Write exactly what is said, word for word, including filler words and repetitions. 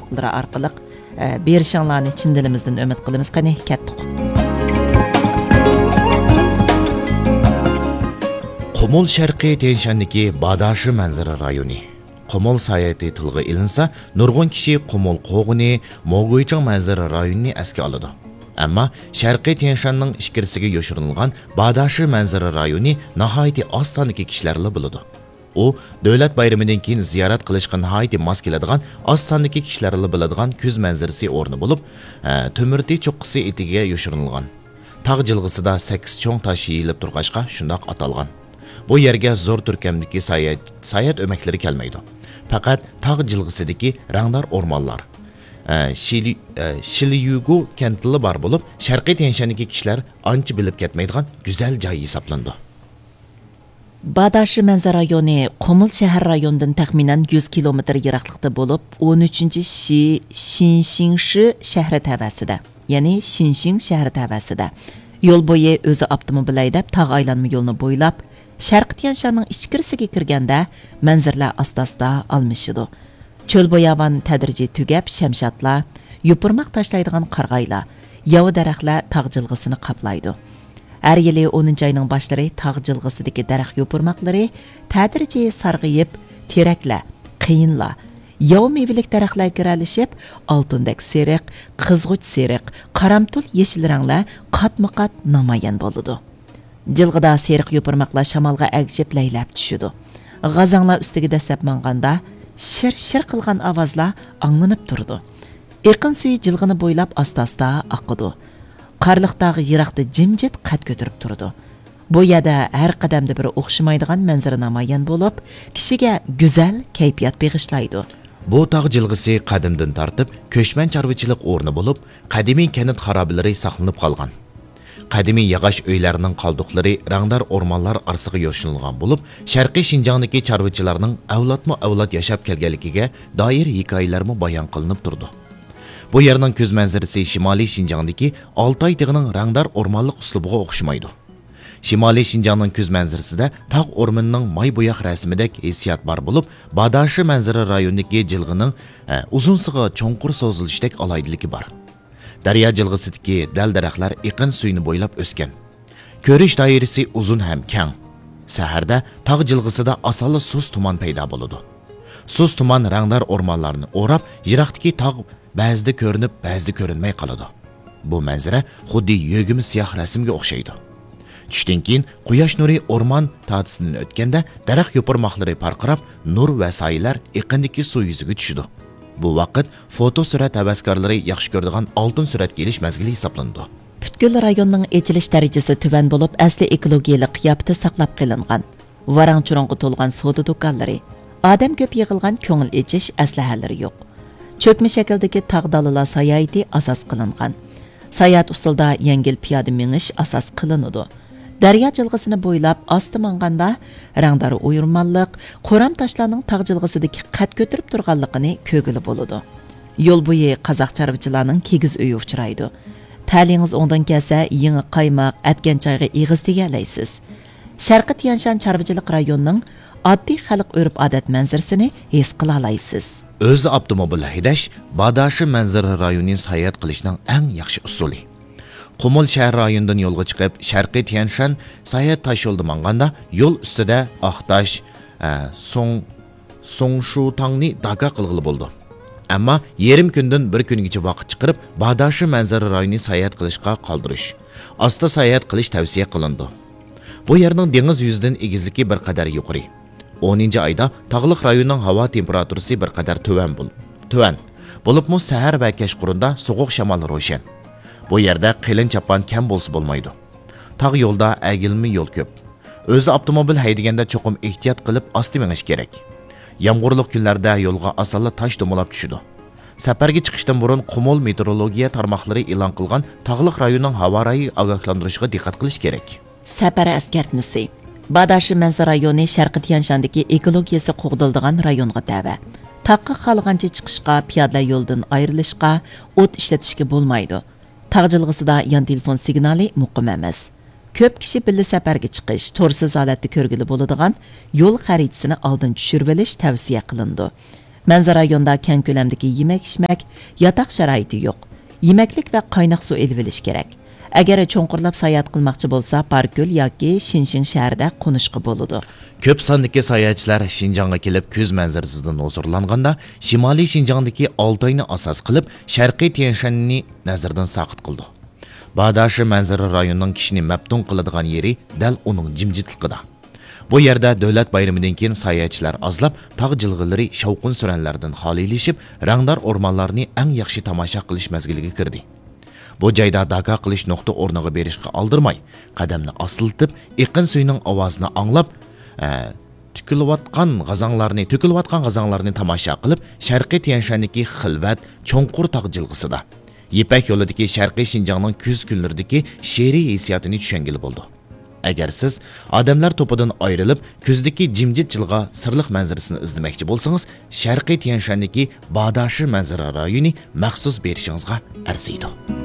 ئارقىلىق، ئە، بېرىشىڭلارنى چىن دىلىمىزدىن ئۈمىد قىلىمىز. قېنى، كەتتۇق. قۇمۇل شەرقىي تيەنشاندىكى باداشى مەنزىرە رايونى. قۇمۇل ساياھىتى تىلغا ئېلىنسا، نۇرغۇن كىشى قۇمۇل قوغۇنى، موگۇيچىڭ مەنزىرە رايونىنى ئەسكە ئالىدۇ. ئەمما شەرقىي تيەنشاننىڭ ئىچكىرىسىگە يوشۇرۇنغان باداشى مەنزىرە رايونى ناھايىتى ئاز ساندىكى كىشىلەرلا بىلىدۇ. ئۇ دۆلەت بايرىمىدىن كېيىن زىيارەت قىلىشقا ناھايىتى ماس كېلىدىغان ئاز ساندىكى كىشىلەرلا بىلىدىغان كۈز مەنزىرىسى ئورنى بولۇپ، ئە، تۆمۈرتى چوققىسى ئېتىكىگە يوشۇرۇنغان. تاغ جىلغىسىدا سەككىز چوڭ تاش يېيىلىپ تۇرغاچقا شۇنداق ئاتالغان. بۇ يەرگە زور تۈركەمدىكى ساياھەت، ساياھەت ئۆمەكلىرى كەلمەيدۇ. پەقەت تاغ جىلغىسىدىكى رەڭدار ئورمانلار، ئە، شىلى-، ئە، شىليۇگۇ كەنتىلا بار بولۇپ، شەرقىي تيەنشاندىكى كىشىلەر ئانچە بىلىپ كەتمەيدىغان گۈزەل جاي ھېسابلىنىدۇ. باداشى مەنزىرە رايونى قۇمۇل شەھەر رايونىدىن تەخمىنەن يۈز كىلومېتىر يىراقلىقتا بولۇپ، ئون ئۈچىنچى شى شىنشىڭشى شەھىرى تەۋەسىدە، يەنى شىنشىڭ شەھىرى تەۋەسىدە. يول بويى ئۆزى ئاپتوموبىل ھەيدەپ، تاغ ئايلانما يولىنى بويلاپ، شەرقىي تيەنشاننىڭ ئىچكىرىسىگە كىرگەندە، مەنزىرىلەر ئاستا-ئاستا ئالمىشىدۇ. چۆل باياۋان تەدرىجىي تۈگەپ، شەمشادلار، يوپۇرماق تاشلايدىغان قارىغايلار، ياۋا دەرەخلەر تاغ جىلغىسىنى قاپلايدۇ. ھەر يىلى ئونىنچى ئاينىڭ باشلىرى تاغ جىلغىسىدىكى دەرەخ يوپۇرماقلىرى تەدرىجىي سارغىيىپ، تېرەكلەر، قېيىنلار، ياۋا مېۋىلىك دەرەخلەر گىرەلىشىپ، ئالتۇندەك سېرىق، قىزغۇچ سېرىق، قارامتۇل يېشىل رەڭلەر قاتمۇ قات نامايان بولىدۇ. جىلغىدا سېرىق يوپۇرماقلار شامالغا ئەگىشىپ لەيلەپ چۈشىدۇ. غازاڭلار ئۈستىگە دەسسەپ ماڭغاندا، شىر-شىر قىلغان ئاۋازلار ئاڭلىنىپ تۇرىدۇ. ئېقىن سۈيى جىلغىنى بويلاپ ئاستا-ئاستا ئاقىدۇ. قارلىق تاغ يىراقتا جىمجىت قەد كۆتۈرۈپ تۇرىدۇ. بۇ يەردە ھەر قەدەمدە بىر ئوخشىمايدىغان مەنزىرە نامايان بولۇپ، كىشىگە گۈزەل كەيپىيات بېغىشلايدۇ. بۇ تاغ جىلغىسى قەدىمدىن تارتىپ كۆچمەن چارۋىچىلىق ئورنى بولۇپ، قەدىمىي كەنت خارابىلىرى ساقلىنىپ قالغان. قەدىمىي ياغاچ ئۆيلەرنىڭ قالدۇقلىرى رەڭدار ئورمانلار ئارىسىغا يوشۇرۇنغان بولۇپ، شەرقىي شىنجاڭدىكى چارۋىچىلارنىڭ ئەۋلادمۇ ئەۋلاد ياشاپ كەلگەنلىكىگە دائىر ھېكايىلەرمۇ بايان قىلىنىپ تۇرىدۇ. بۇ يەرنىڭ كۈز مەنزىرىسى شىمالىي شىنجاڭدىكى ئالتاي تېغىنىڭ رەڭدار ئورمانلىق ئۇسلۇبىغا ئوخشىمايدۇ. شىمالىي شىنجاڭنىڭ كۈز مەنزىرىسىدە تاغ ئورمىنىنىڭ ماي بوياق رەسىمىدەك ھېسسىيات بار بولۇپ، باداشى مەنزىرە رايونىدىكى جىلغىنىڭ، ئە، ئۇزۇنسىغا چوڭقۇر سوزۇلۇشتەك ئالاھىدىلىكى بار. دەريا جىلغىسىدىكى دەل-دەرەخلەر ئېقىن سۈيىنى بويلاپ ئۆسكەن. كۆرۈش دائىرىسى ئۇزۇن ھەم كەڭ. سەھەردە تاغ جىلغىسىدا ئاسانلا سۇس تۇمان پەيدا بولىدۇ. سۇس تۇمان رەڭدار ئورمانلارنى ئوراپ، يىراقتىكى تاغ بەزىدە كۆرۈنۈپ، بەزىدە كۆرۈنمەي قالىدۇ. بۇ مەنزىرە خۇددى يۆگىمە سىياھ رەسىمگە ئوخشايدۇ. چۈشتىن كېيىن قۇياش نۇرى ئورمان تارتىسىدىن ئۆتكەندە، دەرەخ يوپۇرماقلىرى پارقىراپ، نۇر ۋە سايىلەر ئېقىندىكى سۇ يۈزىگە چۈشىدۇ. بۇ ۋاقىت فوتو سۈرەت ھەۋەسكارلىرى ياخشى كۆرىدىغان ئالتۇن سۈرەتكە ئېلىش مەزگىلى ھېسابلىنىدۇ. پۈتكۈل رايوننىڭ ئېچىلىش دەرىجىسى تۆۋەن بولۇپ، ئەسلى ئېكولوگىيەلىك قىياپىتى ساقلاپ قېلىنغان. ۋاراڭ-چۇرۇڭغا تولغان سودا دۇكانلىرى، ئادەم كۆپ يىغىلغان كۆڭۈل ئېچىش ئەسلىھەلىرى يوق. چۆكمە شەكىلدىكى تاغ دالىلار ساياھىتى ئاساس قىلىنغان. ساياھەت ئۇسۇلىدا يەڭگىل پىيادە مېڭىش ئاساس قىلىنىدۇ. دەريا جىلغىسىنى بويلاپ ئاستا ماڭغاندا، رەڭدار ئويۇرمانلىق، قورام تاشلارنىڭ تاغ جىلغىسىدىكى قەد كۆتۈرۈپ تۇرغانلىقىنى كۆرگىلى بولىدۇ. يول بويى قازاق چارۋىچىلارنىڭ كىگىز ئۆيى ئۇچرايدۇ. تەلىيىڭىز ئوڭدىن كەلسە، يېڭى قايماق، ئەتكەن چايغا ئېغىز تېگەلەيسىز. شەرقىي تيەنشان چارۋىچىلىق رايونىنىڭ ئاددىي خەلق ئۆرپ-ئادەت مەنزىرىسىنى ھېس قىلالايسىز. ئۆزى ئاپتوموبىل ھەيدەش باداشى مەنزىرە رايونى ساياھەت قىلىشنىڭ ئەڭ ياخشى ئۇسۇلى. قۇمۇل شەھەر رايونىدىن يولغا چىقىپ، شەرقىي تيەنشان ساياھەت تاشيولىدا ماڭغاندا، يول ئۈستىدە ئاقتاش، ئە، سوڭ، سوڭشۇتاڭنى داكا قىلغىلى بولىدۇ. ئەمما يېرىم كۈندىن بىر كۈنگىچە ۋاقىت چىقىرىپ، باداشى مەنزىرە رايونى ساياھەت قىلىشقا قالدۇرۇش، ئاستا ساياھەت قىلىش تەۋسىيە قىلىنىدۇ. بۇ يەرنىڭ دېڭىز يۈزىدىن ئېگىزلىكى بىر قەدەر يۇقىرى. ئونىنچى ئايدا تاغلىق رايوننىڭ ھاۋا تېمپېراتۇرىسى بىر قەدەر تۆۋەن بول-، تۆۋەن. بولۇپمۇ سەھەر ۋە كەچقۇرۇندا سوغۇق شامال روشەن. بۇ يەردە قېلىن چاپان كەم بولسا بولمايدۇ. تاغ يولدا ئەگىلمە يول كۆپ. ئۆزى ئاپتوموبىل ھەيدىگەندە چوقۇم ئېھتىيات قىلىپ ئاستا مېڭىش كېرەك. يامغۇرلۇق كۈنلەردە يولغا ئاسانلا تاش دومىلاپ چۈشىدۇ. سەپەرگە چىقىشتىن بۇرۇن قۇمۇل مېتېئورولوگىيە تارماقلىرى ئېلان قىلغان تاغلىق رايوننىڭ ھاۋا رايى ئاگاھلاندۇرۇشىغا دىققەت قىلىش كېرەك. سەپەر ئەسكەرتمىسى. باداشى مەنزىرە رايونى شەرقىي تيەنشاندىكى ئېكولوگىيىسى قوغدىلىدىغان رايونغا تەۋە. تاغقا خالىغانچە چىقىشقا، پىيادىلەر يولىدىن ئايرىلىشقا، ئوت ئىشلىتىشكە بولمايدۇ. تاغ جىلغىسىدا يان تېلېفون سىگنالى مۇقىم ئەمەس. كۆپ كىشى بىللە سەپەرگە چىقىش، تورسىز ھالەتتە كۆرگىلى بولىدىغان يول خەرىتىسىنى ئالدىن چۈشۈرۈۋېلىش تەۋسىيە قىلىنىدۇ. مەنزىرە رايونىدا كەڭ كۆلەمدىكى يېمەك-ئىچمەك، ياتاق شارائىتى يوق. يېمەكلىك ۋە قايناق سۇ ئېلىۋېلىش كېرەك. ئەگەر چوڭقۇرلاپ ساياھەت قىلماقچى بولسا، باركۆل ياكى شىنشىڭ شەھىرىدە قونۇشقا بولىدۇ. كۆپ ساندىكى ساياھەتچىلەر شىنجاڭغا كېلىپ، كۈز مەنزىرىسىدىن ھۇزۇرلانغاندا، شىمالىي شىنجاڭدىكى ئالتاينى ئاساس قىلىپ، شەرقىي تيەنشاننى نەزەردىن ساقىت قىلىدۇ. باداشى مەنزىرە رايونىنىڭ كىشىنى مەپتۇن قىلىدىغان يېرى دەل ئۇنىڭ جىمجىتلىقىدا. بۇ يەردە دۆلەت بايرىمىدىن كېيىن ساياھەتچىلەر ئازلاپ، تاغ جىلغىلىرى شاۋقۇن-سۈرەنلەردىن خالىيلىشىپ، رەڭدار ئورمانلارنى ئەڭ ياخشى تاماشا قىلىش مەزگىلىگە كىردى. بۇ جايدا داكا قىلىش نۇقتا ئورنىغا بېرىشقا ئالدىرماي، قەدەمنى ئاستىلىتىپ، ئېقىن سۈيىنىڭ ئاۋازىنى ئاڭلاپ، ئە، تۆكۈلۈۋاتقان غازاڭلارنى، تۆكۈلۈۋاتقان غازاڭلارنى تاماشا قىلىپ، شەرقىي تيەنشاندىكى خىلۋەت، چوڭقۇر تاغ جىلغىسىدا، يىپەك يولىدىكى شەرقىي شىنجاڭنىڭ كۈز كۈنلىرىدىكى شېئىرىي ھېسسىياتىنى چۈشەنگىلى بولىدۇ. ئەگەر سىز ئادەملەر توپىدىن ئايرىلىپ، كۈزدىكى جىمجىت جىلغا سىرلىق مەنزىرىسىنى ئىزدىمەكچى بولسىڭىز، شەرقىي تيەنشاندىكى باداشى مەنزىرە رايونى مەخسۇس بېرىشىڭىزغا ئەرزىيدۇ.